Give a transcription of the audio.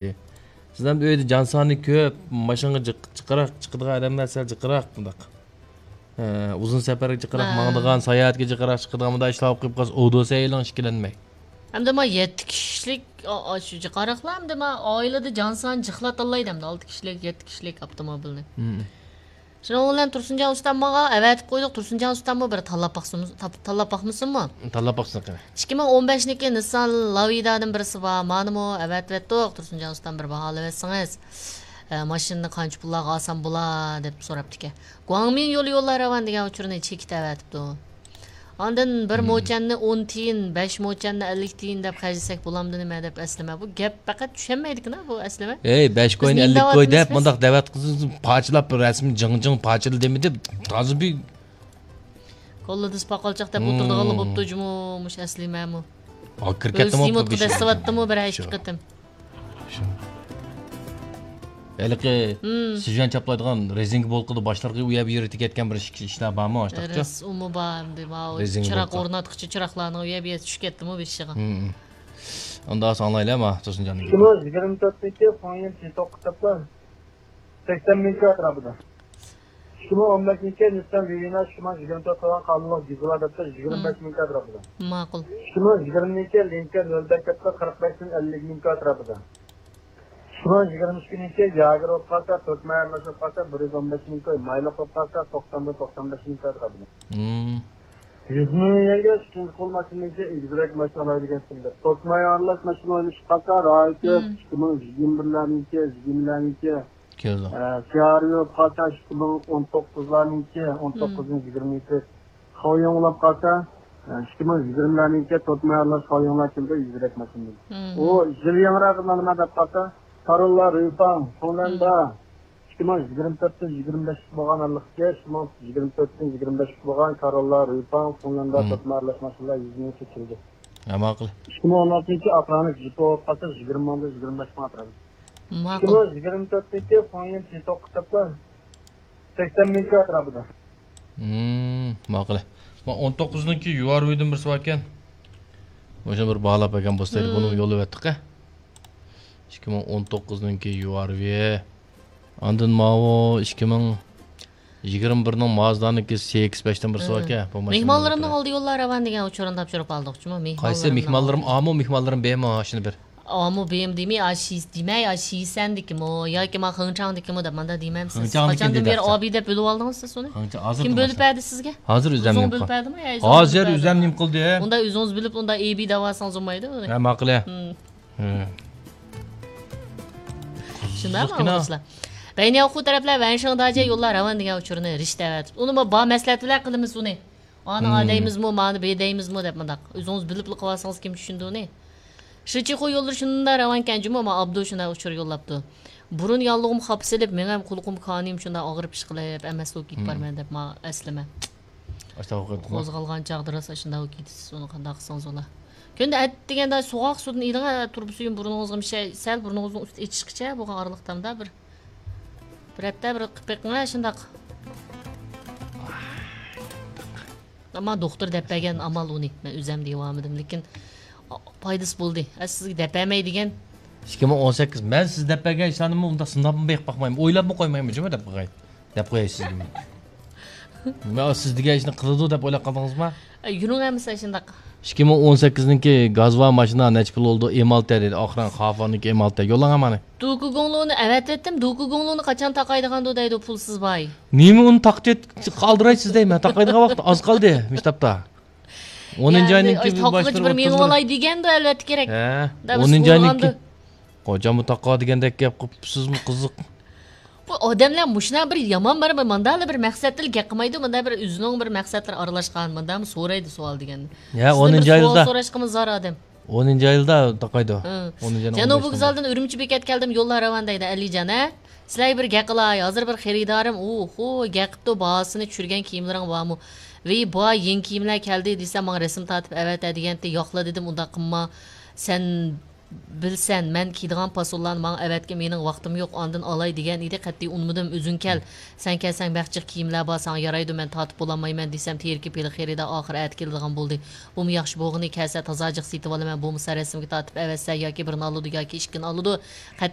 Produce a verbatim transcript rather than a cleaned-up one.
سىز ئەمدى ئۆيدە جان سانى كۆپ، ماشىنىغا جىق-، جىقراق چىقىدىغان ئادەملەر سەل جىقراق مۇنداق. ئە، ئۇزۇن سەپەرگە جىقراق ھە. ماڭىدىغان، ساياھەتكە جىقراق چىقىدىغان مۇنداق ئىشلار بولۇپ قېلىپ قالسا، ئۇ دوسەيلىڭ ئىككىلەنمەي. ئەمدى ما يەتتە كىشىلىك، ئا، ئا، شۇ جىقراقلار ئەمدى ما ئائىلىدە جان سانى جىقلاتاللايدۇ ئەمدى ئالتە كىشىلىك، يەتتە كىشىلىك ئاپتوموبىلنى. مم. شۇنىڭ بىلەن تۇرسۇنجان ئۇستام ماڭا ئەۋەتىپ قويدۇق. تۇرسۇنجان ئۇستاممۇ بىر تاللاپ باقسىمۇ-، تاپ-، تاللاپ باقمىسۇنمۇ؟ تاللاپ باقسۇن قېنى. ئىككى مىڭ ئون بەشنىڭكى نىسسان لاۋىدادىن بىرسى بار. مانىمۇ ئەۋەتىۋەتتۇق. تۇرسۇنجان ئۇستام بىر باھالىۋەتسىڭىز، ئە، ماشىنىنى قانچە پۇللارغا ئالسام بولا دەپ سوراپتىكەن. گۇاڭمىن يولى يوللار راۋان دېگەن ئۇچۇرنى چېكىت ئەۋەتىپتۇ. ئاندىن بىر مم. موچەننى ئون تىيىن، بەش موچەننى ئەللىك تىيىن دەپ خەجلىسەك بولامدۇ نېمە دەپ ئەسلىمە. بۇ گەپ پەقەت چۈشەنمەيدىكىنا بۇ ئەسلىمە. ئەي، بەش بىز كوين، نېمە ئەللىك كوين دەپ دەۋاتىمىز بىز؟ مۇنداق دەۋەت قىلسىڭىز پارچىلاپ رەسىم جىڭ جىڭ پارچىلا دېمىدى. تازا بىر كوللىدىس پاقالچاق دەپ مم. ئولتۇرىدىغانلا بوپتۇ جۇمۇ مۇشۇ ئەسلىمەمۇ. ھا، كىرىپ كۆز كەتتىمۇ سىيمۇتقا بۇ بېشىمغا. دەسسىۋەتتىمۇ بىر ھەشت شۇ. قېتىم. شۇ. ھېلىقى مم. سىجۇەن چاپلايدىغان رېزىنكا بولقىدا باشلارغا ئۇ يەر بۇ يەرگە تېگەتكەن بىر ئىش-، ئىشلار بارمۇ ئاشتاقچە؟ راست، ئۇمۇ بار ئەمدى. ماۋۇ رېزىنكا چىراغ بولقا. ئورناتقۇچە چىراغلارنىڭ ئۇ يەر بۇ يەر چۈشۈپ كەتتىمۇ بېشىغا. مم. ئۇندا ئاڭلايلى ما، تۇرسۇنجاننىڭ گېپىنى. ئىككى مىڭ يىگىرمە تۆتتىكى فاڭيەن چىتوق كىتابلار سەكسەن مىڭ كىلو ئەتراپىدا. ئىككى مىڭ ئون بەشنىڭكى نىسسان لىۋىنا ئىككى مىڭ يىگىرمە تۆت قىلغان قانۇنلۇق دىزېل ئادەتتە يىگىرمە بەش مىڭ كىلو ئەتراپىدا. ماقۇل. ئىككى مىڭ يىگىرمىنىڭكى لىنكولن نۆل بەش كەپتە قىرىق بەش مىڭ ئەللىك مىڭ كىلو ئەتراپىدا. ئىككى مىڭ يىگىرمە ئىككىنىڭكى ياگېر بولۇپ قالسا، تۆت مايارلاش بولۇپ قالسا، بىر يۈز ئون بەش مىڭ كوي، مايلىق بولۇپ قالسا، توقسان بىر، توقسان بەش مىڭ كوي ئەتراپىدا. مم. يۈز مىڭ يۈەنگە ئىككىنچى قول ماشىنىنىڭكى ئېگىزرەك ماشىنا ئالاي دېگەن سىندى. تۆت مايارلاش ماشىنا ئوينىشىپ قالسا، رايكى مم. ئىككى مىڭ يىگىرمە بىرلەرنىڭكى، يىگىرمىلەرنىڭكى، كېلىدۇ. ئە، سىيارى بولۇپ قالسا، ئىككى مىڭ ئون توققۇزلارنىڭكى، ئون توققۇزنىڭ يىگىرمىسى. خاۋيوڭ بولۇپ قالسا، ئىككى مىڭ يىگىرمىلەرنىڭكى تۆت مايارلاش خاۋيوڭلار كېلىدۇ، يۈزرەك ماشىنىدىن. مم. ئۇ يىل يېڭىراق نېمە دەپ قالسا، كاروللا رېيفاڭ، فىنلاندا، مم. ئىككى مىڭ يىگىرمە تۆتتىن يىگىرمە بەشكە بولغان ئارىلىقتىكى، ئىككى مىڭ يىگىرمە تۆتتىن يىگىرمە بەشكە بولغان كاروللا رېيفاڭ، فىنلاندا، مم. تۆت مايارلاش ماشىنىلار يۈز مىڭ كېلىدۇ. ھە، ماقۇل. ئىككى مىڭ ئون ئالتىنچى ئاپرانىك جىپو بولۇپ قالسا، يىگىرمە مىڭدىن يىگىرمە بەش مىڭ ئەتراپىدا. ماقۇل. ئىككى مىڭ يىگىرمە تۆتتىكى فاڭيەن چىتوق كىتابلار سەكسەن مىڭ كوي ئەتراپىدا. مم، ماقۇل. ما ئون توققۇزنىڭكى يۇ ئار ۋىدىن بىرسى باركەن. مۇشۇنى بىر باھالاپ بەرگەن بولسايدى، بۇنى مم. يوللىۋەتتۇق ھە. ئىككى مىڭ ئون توققۇزنىڭكى يۇ ئار ۋى. ئاندىن ماۋۇ ئىككى مىڭ يىگىرمە بىرنىڭ مازدانىڭكى سەككىز بەشتىن بىرسى باركەن. بۇ ماشىنا مېھمانلىرىمنىڭ ئالدى يوللار راۋان دېگەن ئۇچۇرنى تاپشۇرۇپ ئالدۇق جۇمۇ، مېھمانلىرىمنىڭ مېھمانلىرىم ئالدى. ئامۇ مېھمانلىرىم بېمۇ شۇنى بىر. ئامۇ بېم دېمەي، ئاشىس دېمەي، ئاشىسەندىكىمۇ ياكى ما خېڭچاڭدىكىمۇ دەپ ماندا دېمەمسىز؟ خېڭچاڭدىكىم قاچاندىن دېدى بېرى ئاخچا. ئابى دەپ بۆلۈۋالدىڭىز سىز ئۇنى؟ خېڭچاڭ ھازىر كىم بۆلۈپ بەردى سىزگە؟ ھازىر ئۆزۈم ئۆزىڭىز نېمە بۆلۈپ قىل-، بەردىمۇ يا ئۆزىڭىز ھازىر بۆلۈپ بەردىمۇ؟ ئۆزۈم نېمە قىلدى؟ ئۇندا ئۆزىڭىز بىلىپ ئۇندا ئېبى دەۋالساڭىز بولمايدۇ. ھە، ماقۇل. ھە. ھىم. ھە. شۇنداقمۇ قىزىقكىنا. ئۇلۇسلار؟ بەينىياۋخۇ تەرەپلەر ۋەنشىڭ داجيا يوللار راۋان دېگەن ئۇچۇرنى رىشتە ئەۋەتىپتۇ. ئۇنىمۇ بار مەسلىھەت بىلەن قىلىمىز ئۇنى. ئانا مم. ئادەيمىزمۇ، مانى بېدەيمىزمۇ دەپ مۇنداق. ئۆزىڭىز بىلىپلا قىلىۋالسىڭىز كىم چۈشىنىدۇ ئۇنى؟ شىچىخۇ يوللىرى شۇنداق راۋانكەن جۇمۇ، ما ئابدۇ شۇنداق ئۇچۇر يوللاپتۇ. بۇرۇن ياللۇغۇم خاپا سېلىپ، مېڭەم قۇلىقىم كانىيىم شۇنداق ئاغرىپ ئىشقىلىپ ئەمەسلا كېتىپ مم. بارىمەن دەپ ما ئەسلىمە. ئاشۇنداق ئوقۇيتتىڭمۇ؟ قوزغالغان چاغدا راست ئاشۇنداق كېتىسىز ئۇنى قانداق قىلسىڭىز بولا. كۈندە ئەتىگەندە سوغۇق سۇدىن ئېلىڭ، تۇرۇبا سۈيىنى بۇرنىڭىزغا مىشە-، سەل بۇرنىڭىزنىڭ ئۈستى ئېچىشقىچە بولغان ئارىلىقتا بىر، بىر ھەپتە بىر قىلىپ بېقىڭ شۇنداق. ئەمما دوختۇر دەپ بەرگەن ئامال ئۇنى. مەن ئۆزەم دېيىۋالمىدىم، لېكىن پايدىسى بولدى. ئە، سىزگە دەپ بەرمەي دېگەن. ئىككى مىڭ ئون سەككىز. مەن سىز دەپ بەرگەن ئىشلارنىمۇ ئۇنداق سىناپمۇ بېقىپ باقمايمەن. ئويلاپمۇ قويمايمەن جۇمۇ دەپ قوياي. دەپ قوياي سىزگىمۇ. مەن سىز دېگەن ئىشنى قىلىدۇ دەپ ئويلاپ قالدىڭىزمۇ؟ ئە، يۈرۈڭ ئەمىسە شۇنداق. ئىككى مىڭ ئون سەككىزنىڭكى گاز ۋار ماشىنا نەچچە پۇل بولىدۇ؟ ئېمالتە دېدى. ئاخىرىنى خافانىڭكى ئېمالتە. يوللاڭ ئامانى. دوكۇگۇڭلۇنى ئەۋەتىۋەتتىم. دوكۇگۇڭلۇنى قاچان تاقايدىغاندۇ دەيدۇ پۇلسىز باي. نېمە ئۇنى تاقىتىپ قالدۇرايسىز دەيمەن. تاقايدىغان ۋاقىت ئاز قالدى مۇشۇ تاپتا. ئونىنچى ئاينىڭكى باشلىرى بىر مېڭىۋالاي دېگەندۇ ئەلۋەتتە كېرەك. ھە، ئونىنچى ئاينىڭكى. قوجاممۇ تاقا دېگەندەك گەپ قىپسىزمۇ قىزىق. بۇ ئادەملەر مۇشۇنداق بىر يامان بار، بىر ماندالا بىر مەقسەتتىلا گەپ قىلمايدۇ، مۇندا بىر ئۆزىنىڭ بىر مەقسەتلىرى ئارىلاشقان، مۇندامۇ سورايدۇ سوئال دېگەندە. يا، سىزدىن بىر ئونىنچى سوئال ئايدا. سوراشقىمۇ زار ئادەم. ئونىنچى ئايدا تاقايدۇ. ھە. ئونىنچى ئاينىڭ جەنۇبىي ئون بەشىنچى. ۋوگزالدىن ئۈرۈمچى بېكەت كەلدىم، يوللار راۋان دەيدۇ ئەلىجان، ھە؟ سىلەرگە بىر گەپ قىلاي، ھازىر بىر خېرىدارىم، ئوھو، گەپ قىپتۇ، باھاسىنى چۈشۈرگەن كىيىملىرىڭ بارمۇ؟ ۋېي، بار، يېڭى كىيىملەر كەلدى دېسە، ماڭا رەسىم تارتىپ ئەۋەتە دېگەنتى، ياقلا دېدىم، ئۇنداق قىلما. سەن بىلسەن، مەن كىيىدىغان پاسونلارنى ماڭا ئەۋەتكىن، مېنىڭ ۋاقتىم يوق، ئاندىن ئالاي دېگەن ئىدى، قەتئىي ئۇنىمىدىم، ئۆزۈڭ كەل. سەن كەلسەڭ بەك جىق كىيىملەر بار، ساڭا يارايدۇ، مەن تارتىپ بولالمايمەن دېسەم، تېرىكىپ ھېلىقى خېرىدار ئاخىر ئەتە كېلىدىغان بولدى. بۇمۇ ياخشى بولغىنى، كەلسە تازا جىق سېتىۋالىمەن، بولمىسا رەسىمگە تارتىپ ئەۋەتسە ياكى بىرنى ئالىدۇ ياكى ئىككىنى ئالىدۇ. قەتئىي